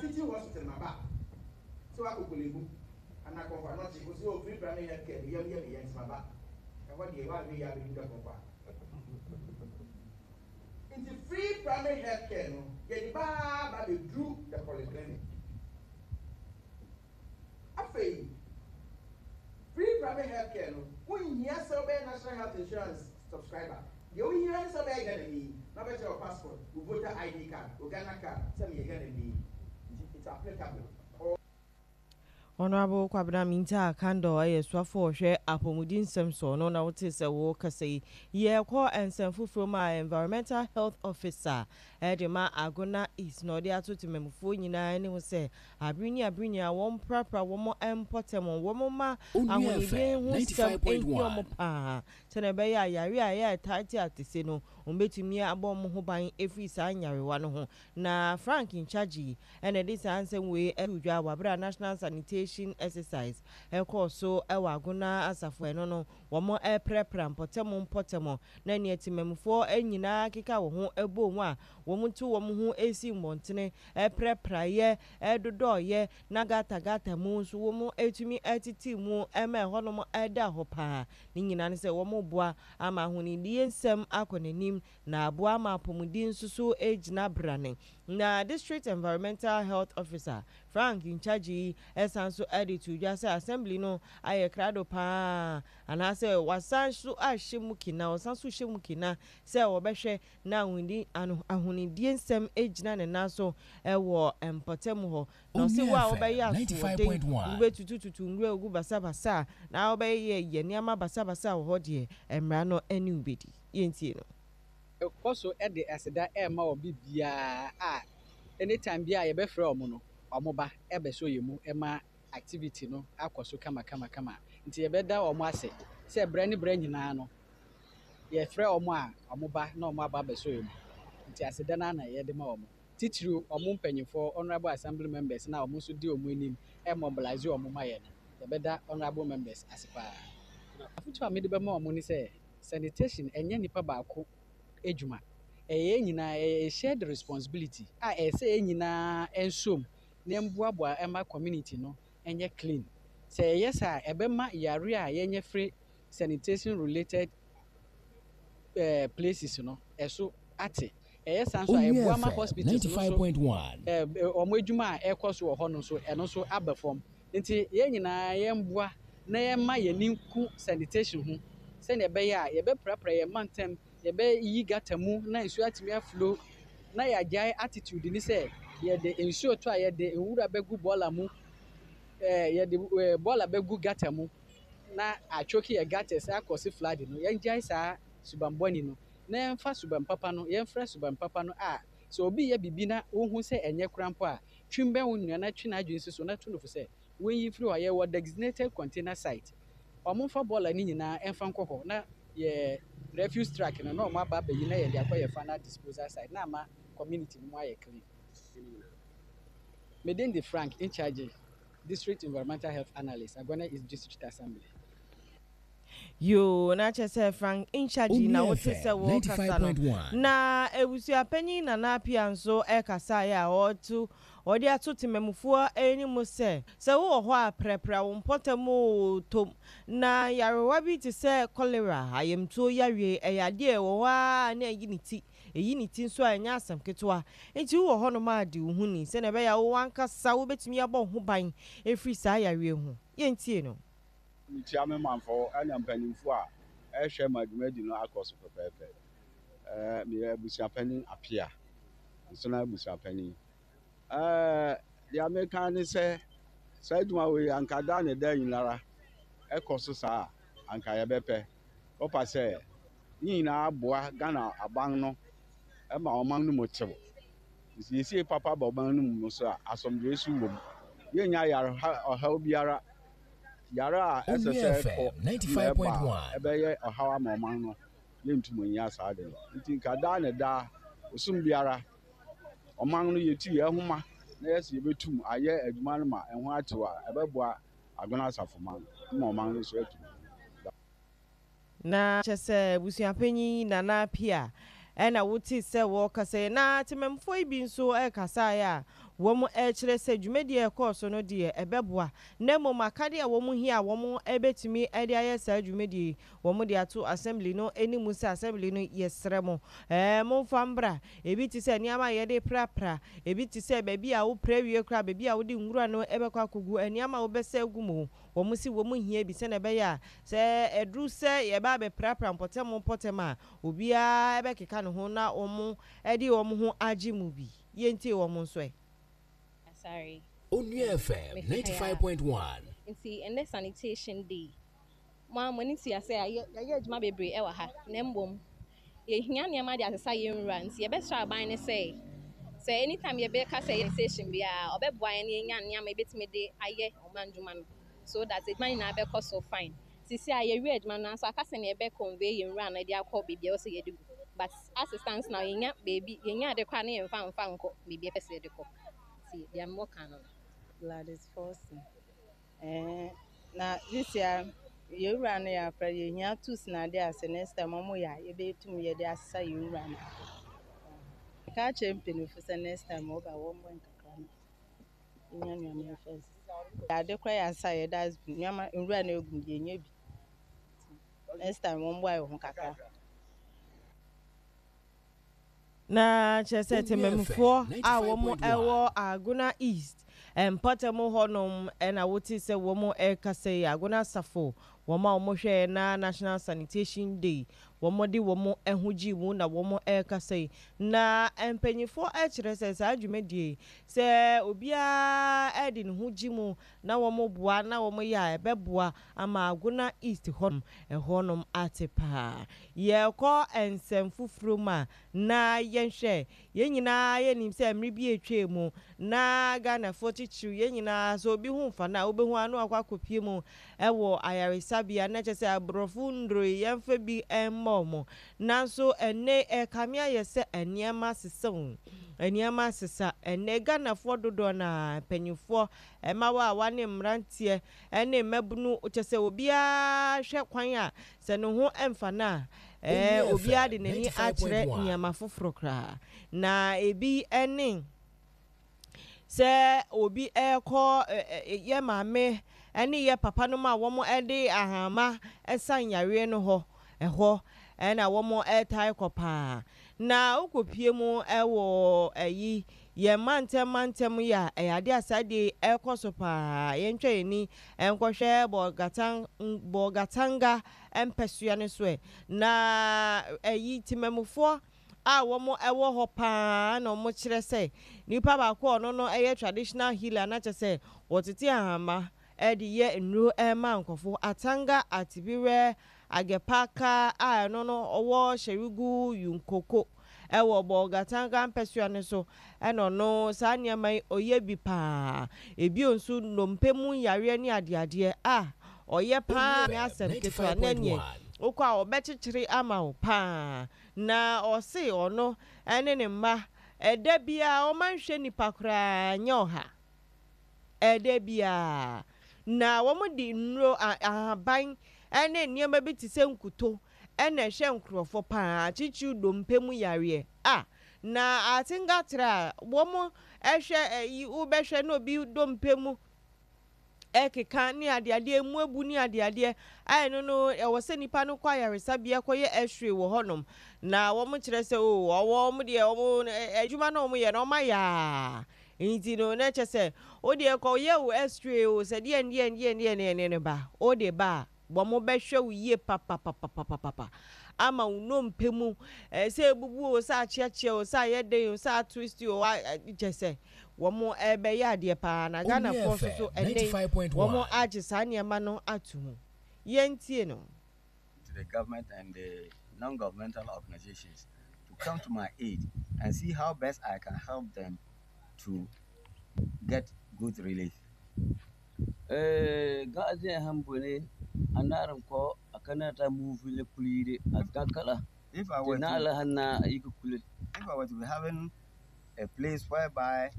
Teaching hospital maba sɛ wakɔ Korle-Bu anaa Komfo Anokye, wo sɛ oh free primary health care me yam yɛ me ya nti maba ɛhɔ deɛ woanhwɛ yie abɛdu da kɔkɔ a. Nti free primary health care no yɛde ba ara ba bɛduru the polyclinic. Afei free primary health care no wonhia sɛ wobɛyɛ National Health Insurance subscriber. Deɛ wohia ne sɛ wobɛyɛ Ghanani na wobɛkyerɛ wo passport, wo voter ID card, wo Ghana card sɛ meyɛ Ghanani. Nti it's applicable all. Honourable Kwabena Mintah Kandor yɛ soafo a ɔhwɛ apɔmuden nsɛm so, ɔno na wotee sɛ wɔrekasa yi. Yɛrekɔ nsɛm foforɔ mu a, Environmental Health Officer de ma Agona East na ɔde ato temanmufoɔ nyinaa anim sɛ abere ne abere nyinaa wɔmprapra wɔn mpɔtam, wɔmma Onua ahonidie FM ho nsɛm nhia 95.1. wɔn pa ara sɛdeɛ ɛbɛyɛ a yareɛ a ɛyɛ a ɛtaa te atese no wɔbɛtumi abɔ wɔn ho ban afiri saa nyarewa no ho. Na Frank Nchagyi na ɛde saa nsɛm wei too dwa wɔ bere a National Sanitation Exercise kɔɔ so wɔ Agona asafo a ɛno no wɔreprapra mpɔtam mpɔtam na nea temanmufoɔ nyinaa keka wɔn ho bɔɔ mu a wɔtu wɔn ho si mmɔntene prapraeɛ dodɔeɛ na gata gata mu nso wɔtumi tete mu ma ɛhɔnom da hɔ paa. Ne nyinaa ne sɛ wɔreboa ama ahonidie nsɛm akɔ n'anim na aboa ama apɔmuden nso so agyina brane. Na District Environmental Health Officer, Frank Nchagyi san nso de too dwa sɛ Assembly no ayɛ krado pa ara anaasɛ wɔasan nso ahyɛ mu kina, wɔsan nso rehyɛ mu kina sɛ wɔbɛhwɛ na ahonidie nsɛm agyina ne nan so wɔ mpɔtam hɔ. Na ɔse Onua wo a FM wobɛyɛ asoɔden, 95.1. wobɛtutututu nwura agu basabasa na wobɛyɛ nneɛma basabasa wɔ hɔ deɛ, mmara no ne wo bɛdi. Yɛntie no. Kɔ so de aseda rema wɔn biribiara a anytime biara a yɛbɛfrɛ wɔn no, wɔba bɛsɔ yɛn mu ma activity no akɔ so kamakamakama. Nti yɛbɛda wɔn ase sɛ berɛ ne berɛ nyinaa no, yɛfrɛ wɔn a wɔba na wɔaba abɛsɔ yɛn mu. Nti aseda no ara na yɛde ma wɔn. Titiriw wɔn mpanyimfoɔ, Honourable Assembly members no a wɔn nso di wɔn anim mobilise wɔn ma yɛn no, yɛbɛda Honourable members ase pa ara. Afotu a mede bɛma wɔn ne sɛ, Sanitation ɛnyɛ nipa baako adwuma. Ɛyɛ yɛn nyinaa, ɛyɛ a shared responsibility a ɛyɛ sɛ yɛn nyinaa nsom na yɛmboaboa ɛma community no nyɛ clean. Sɛ yɛyɛ saa a, ɛbɛma yare a yɛnya firi sanitation related eh, places no, ɛso ate. Ɛyɛ saa nso a, Onua ɛboa ma FM hospitals no nso 95.1. eh, wɔn adwuma a ɛrekɔ so wɔ hɔ no nso, ɛno nso aba fam. Nti yɛn nyinaa yɛmmoa na yɛmma yɛn ani nku sanitation ho sɛnea ɛbɛyɛ a yɛbɛprapra yɛn mantam, yɛbɛyi gutter mu na nsuo atumi aflow na yɛagyae attitude ne sɛ yɛde nsuo tɔ a yɛde nwura bɛgu bɔɔla mu, ɛɛ yɛde ɛɛ bɔɔla bɛgu gutter mu na atwoke yɛ gutters akɔse flood no. Yɛngyae saa suban bɔne no na yɛmfa suban papa no, yɛmfra suban papa no a sɛ obi yɛ biribi na wohu sɛ ɛnyɛ koraa mpo a, twe bɛn wo nua na twe n'adwene si so na tu no fo sɛ wonyi mfiri hɔ. Yɛwɔ designated container site. Wɔmfa bɔɔla no nyinaa mfa nkɔ hɔ na yɛ refuse truck no na wɔn aba abɛyi na yɛde akɔ yɛ final disposal site na ama community no mu ayɛ clean. Me din de Frank Nkyagye, District Environmental Health Analyst, Agona East District Assembly. Yoo, na kyerɛ sɛ Frank Nchagyi na Onua wote sɛ FM wɔrekasa no. 95.1. Na abusuapanyin Nana Appiah nso kasaeɛ a ɔreto ɔde ato temamufoɔ anim sɛ, sɛ wowɔ hɔ a prapra wo mpɔtam oo, tom na nyarewa bi te sɛ kɔlera, ayamtuo yareɛ, ɛyɛ adeɛ a ɛwɔ hɔ ara na ayi ne ti. Ɛyi ne ti nso a ɛnyɛ asɛm ketewa. Enti wowɔ hɔnom a di wo ho ni sɛdeɛ ɛbɛyɛ a wo ankasa wobɛtumi abɔ wo ho ban afiri saa yareɛ ho. Yɛntie no. Mekyia me manfo ne mpanyimfo a ɛrehwɛ ma dwumadi no akɔ so pɛpɛɛpɛ. Meyɛ abusuapanyin Apia, Nsona abusuapanyin. Deɛ meka ne sɛ, saa adwuma wei anka da ne da nyinara ɛkɔ so saa a, anka yɛbɛpɛ. Kɔpa sɛ ne nyinaa boa Ghana aban no ma ɔman no mu tew. Nsiesie papa ba ɔman no mu so a, asomdwoe so wom. Yɛnnya yare ɔhaw biara. Yare a ɛsɛ Onua sɛ FM ɛkɔ na ɛba a 95.1. ɛbɛyɛ ɔhaw ama ɔman no, yɛntum nnya saa ade no. Nti nka daa ne daa, bosom biara, ɔman no yɛtu yɛn ho ma na yɛsɛ yɛbɛtum ayɛ adwuma no ma ɛho atew a, ɛbɛboa Agona Asafo man ma ɔman no nso atu mpɔn. Na kyerɛ sɛ abusuapanyin Nana Appiah na wotee sɛ wɔrekasa yi. Na temammufoɔ yi bi nso kasaeɛ a Wɔkyerɛ sɛ dwumadie a ɛkɔɔ so no deɛ ɛbɛboa na mmom akadeɛ a wɔhia a wɔbɛtumi de ayɛ saa dwumadie yi wɔde ato Assembly no anim sɛ Assembly no yɛsrɛ mo momfa mbra. Ebi te sɛ nneɛma a yɛde prapra, ebi te sɛ baabi a wopra wie koraa baabi a wode nwura no bɛkɔ akɔgu, nneɛma a wobɛsa agu mu. Wɔn se wɔn hia bi sɛdeɛ ɛbɛyɛ a sɛ ɛduru sɛ yɛba abɛprapra mpɔtam mpɔtam a obiara bɛkeka ne ho na wɔde wɔn ho agye mu bi. Yɛntie wɔn nso ɛ. Asare. Onua FM Mefi ha yi ara. 95.1. Nti ɛnnɛ sanitation day. Mo ara mo ani tua sɛ yɛayɛ adwuma bebree wɔ ha na mmom yɛhia nneɛma de asesa yɛn nwura nti yɛbɛsrɛ aban no sɛ sɛ anytime yɛbɛka sɛ sanitation biara ɔbɛboa yɛn na yɛanya nneɛma yɛbɛtumi de ayɛ ɔman dwuma no so that adwuma nyinaa bɛkɔ so fine. Sisi a yɛwie adwuma no nanso aka sɛnea yɛbɛ convey yɛn nwura no de akɔ baabi a ɛwɔ sɛ yɛde gu but as it stands now yɛnya baabi yɛnya ade koraa na yɛmfa mfa nkɔ baabi a yɛpɛ sɛ yɛde kɔ nti deɛ mewɔ ka no no. Gladys Forson, Ɛɛn, na this year yɛn wura no yɛafrɛ yɛhia tools na ade a sɛ next time ɔmo yɛ a yɛbɛtum yɛde asesa yɛn wura no. Meka akyerɛ mpanyinfo sɛ next time wɔba a wɔmmɔ nkakra na yɛnya nneɛma mfa nsesa. Ade koraa yɛasesa yɛ dustbin nneɛma nwura no egu mu yɛnya bi. Next time wɔmmoa yɛn ho kakra. Na kyerɛ sɛ Onua FM temamufoɔ a wɔn 95.1. wɔ Agona East mpɔtam hɔ nom na wote sɛ wɔn rekasa yi, Agona Asafo, wɔn a wɔhwɛɛ na National Sanitation Day wɔn de wɔn ho gyee mu na wɔn rekasa yi. Na mpanyinfoɔ kyerɛ sɛ saa dwumadie yi sɛ obiara de ne ho gye mu na wɔn boa na wɔn yɛ a ɛbɛboa ama Agona East hɔ nom ɛhɔ nom ate paa. Yɛrekɔ nsɛm foforɔ mu a, na yɛnhwɛ, yɛn nyinaa yɛnim sɛ mmere bi a atwam mu na Ghanafoɔ titiriw yɛn nyinaa sɛ obi ho mfa no a wobɛhu ara na wakɔ akɔpue mu wɔ ayaresabea na kyerɛ sɛ aborɔfo nnuro yi yɛmfa bi mmɔ wɔn. Nanso ɛnnɛ ɛrekame ayɛ sɛ nneɛma asesa o, nneɛma asesa. Ɛnnɛ Ghanafoɔ dodoɔ no ara, mpanimfoɔ, mmabaawa ne mmeranteɛ ne mmabunu, kyerɛ sɛ obiara hwɛ kwan a sɛ ne ho mfa no a, ɛɛ, Onua obiara de FM n'ani akyerɛ 95.1. nneɛma foforɔ koraa. Na ebi ne sɛ obi rekɔ yɛ maame ne yɛ papa nom a wɔde ahama sa yareɛ no hɔ, ɛhɔ na wɔtaa kɔ paa. Na wokɔpue mu wɔ ayi yɛn mantam mantam yi a, ɛyɛ adeɛ a saa adeɛ yi ɛrekɔ so paa. Yɛntwa yɛn ani nkɔhwɛ Bolgatang Bolgatanga mpɛsoa no so ɛ. Na ayi temamufoɔ a wɔn wɔ hɔ paa na wɔn kyerɛ sɛ nipa baako a ɔno no yɛ traditional healer na kyerɛ sɛ wɔtete ahama de yɛ nnuro ma nkurɔfo. Atanga Atibirɛ Agepaka a ɛno no ɔwɔ Sherigu Yunkoko wɔ Bolgatanga mpɛsoa no so na ɔno saa nneɛma yi ɔyɛ bi paa. Ebio nso nnompe mu yareɛ ne adeadeɛ a ɔyɛ paa Onua nyɛ FM asɛm ketewa na ɛneɛ 95.1. wokɔ a ɔbɛkyekyere ama wo paa. Na ɔse ɔno ne ne mma ɛda biara ɔma nhwɛ nnipa koraa nyɛ ɔha. Ɛda biara. Na wɔde nnuro, ahaban ne nneɛma bi te sɛ nkuto na ɛhwɛ nkurɔfoɔ pa ara, titiriw dompe mu yareɛ. A Na atengatrɛ a wɔhwɛ ayi, wobɛhwɛ na obi dompe mu ɛkeka ne adeadeɛ, emu abu ne adeadeɛ, a ɛno no ɛwɔ sɛ nipa no kɔ ayaresabea kɔyɛ x-ray wɔ hɔnom. Na wɔkyerɛ sɛ o, wɔn deɛ wɔn adwuma no a wɔyɛ no wɔayɛ a Nti no na kyɛ sɛ wo deɛ kɔ yɛ wo x-ray o sɛ deɛn deɛn deɛn deɛn deɛn deɛn ba wo de ba a wɔn bɛhwɛ wo yie papapapapapa ama wo nnompe mu eh, sɛ ebubu o sɛ akyeakyea o sɛ ayɛ den o sɛ atwist o kyɛ sɛ wɔn ɛbɛyɛ adeɛ paa na Onua Ghanafoɔ nso so FM ɛnɛ yi wɔn 95.1. agye saa nneɛma no ato mu. Yɛntie no. To the government and the non-governmental organizations to come to my aid and see how best I can help them to get good relief. Eh, If I were to, if I were to be having a place whereby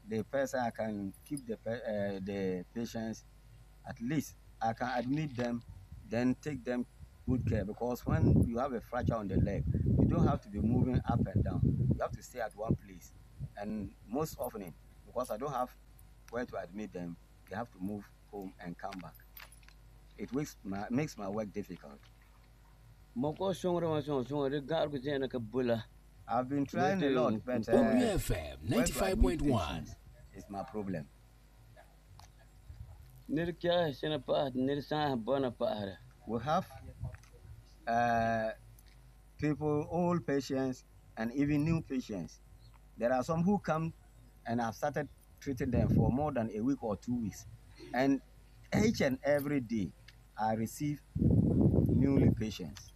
the person I can keep the the patients, at least I can admit them, then take them good care. Because when you have a fracture on the leg, you don't have to be moving up and down. You have to stay at one place, and most often because Because I don't have where to admit them, they have to move home and come back. It makes my, makes my work difficult. I've been trying a lot, but Onua FM where to admit 95.1. patients is my problem. We have people, old patients, and even new patients. There are some who come and I've started treating them for more than a week or 2 weeks. And each and every day, I receive newly patients.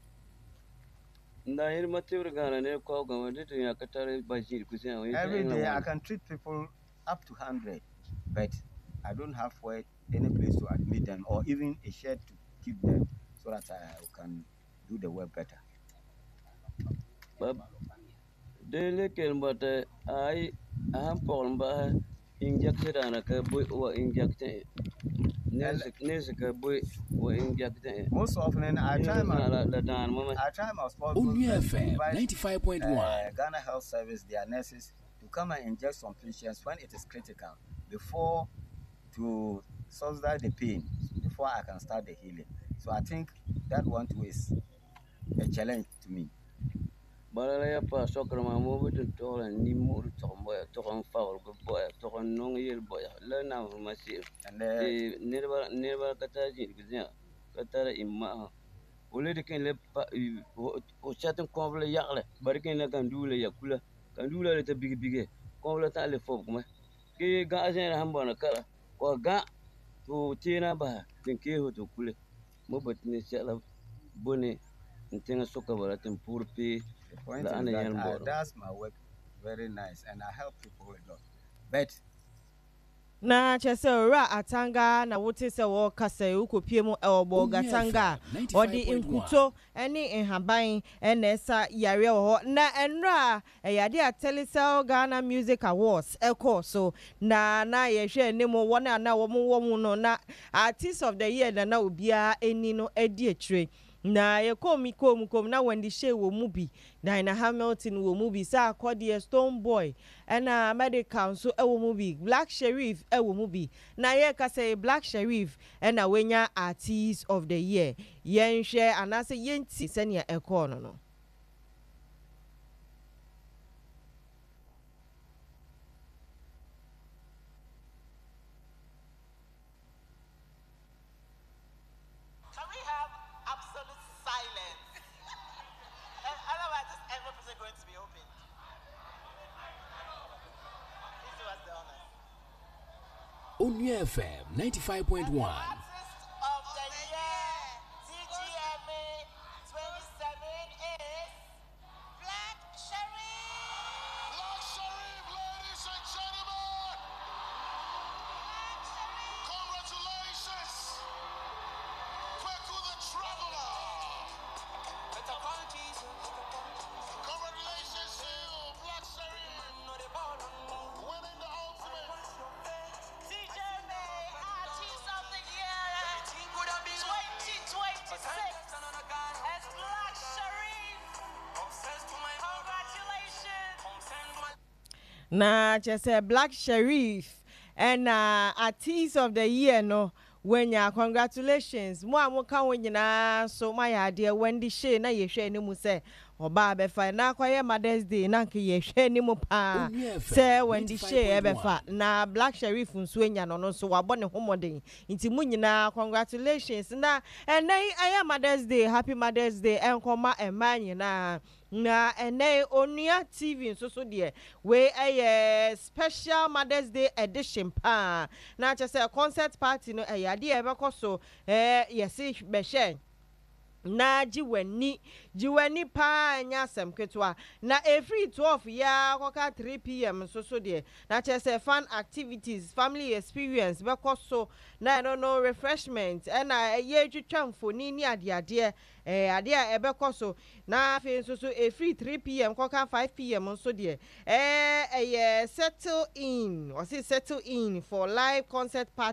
Every day, I can treat people up to 100, but I don't have where, any place to admit them or even a shed to keep them so that I can do the work better. Most often, I try my possible Onua best to FM invite 95.1. Ghana Health Service, their nurses, to come and inject some patients when it is critical before to subsidize the pain before I can start the healing. So I think that one too is a challenge to me. Bala la yaa paas sokr maa mo bɩ tɩ togl n nimmoor tog n bɔya tog n faoolg bɔya tog n nong yel bɔya la namsmã se'em And tɩ nedba ka tar zĩig zẽa ka tara ĩn-ma'asã fo le dɩk n le fo sat n kõbl yaglɛ ba dɩk n la gãnduulã ya kula gãnduulã le t'a big-bige kõbla tã le fobgme tɩ gã zẽerã sẽn bõna kala wa gã tɩ f teena basa tɩ n kees fo tɩ f kule mo bot ne sɛla bone n tẽngã sʋka bala tɩ m pʋʋr pee. The point is that I does my work very nice and I help people a lot. But Na kyerɛ sɛ Owura Atanga na wote sɛ wɔrekasa yi, wokɔpie mu ɛwɔ Bolgatanga a ɔde nkuto ne nhaban na ɛsa yareɛ wɔ hɔ. Na ɛnora a ɛyɛ adeɛ a Telecel Ghana Music Awards ɛkɔɔ so na yɛhwɛ anim wɔn a na wɔn wɔ mu no, na Artist of the Year na obiara ani no adi akyire. Na yɛkɔɔ mu kɔɔ mu kɔɔ mu na Wendy Shay wɔ mu bi, Diana Hamilton wɔ mu bi, sɛ akɔdeɛ Stonebwoy ɛna Medikal nso ɛwɔ mu bi, Black Sherif ɛwɔ mu bi. Na yɛreka sɛ Black Sherif ɛna wanya Artist of the Year. Yɛnhwɛ anaasɛ yɛnti sɛnea ɛkɔɔ no. Can we have absolute silence? And otherwise, this envelope isn't going to be opened. Please do us the honors. Onua FM 95.1. Artist of the Year, TGMA 27 is Black Sherif. Black Sherif, ladies and gentlemen. Congratulations. Kweku the Traveler. Congratulations to you, Black Sherif. Winning the ultimate. TGMA Artist of the Year 2026 as Black Sherif. Congratulations. Na kyerɛ sɛ Black Sherif ɛna Artist of the Year no wanya. Congratulations mo a moka ho nyinaa so moayɛ adeɛ. Wendy Shay na yɛhwɛ anim sɛ ɔbaa bɛfa na akɔyɛ Mothers Day na nka yɛhwɛ anim paa sɛ Wendy Shay ɛbɛfa, na Black Sherif nso anya no, no nso wabɔ ne ho mmɔden. Nti mo nyinaa congratulations. Na ɛnɛ yi ɛyɛ Mothers Day. Happy Mothers Day ɛnkɔma mmaa nyinaa. Na ɛnɛ Onua TV nso so deɛ, wei ɛyɛ special Mothers Day edition paa. Na kyerɛ sɛ concert party no ɛyɛ adeɛ a ɛbɛkɔ so. Yɛsi bɛhyɛ na gye w'ani, gye w'ani paa, nyɛ asɛm ketewa. Na efiri 12 yaa kɔka 3 p.m. nso so deɛ, na kyerɛ sɛ fun activities, family experience bɛkɔ so. Na ɛno no refreshment ɛna ɛyɛ twitwa mfoni ne adeadeɛ, adeɛ a ɛbɛkɔ so. Na afei nso so efiri 3 p.m. kɔka 5 p.m. nso deɛ, ɛyɛ settle in, ɔsi settle in for live concert party.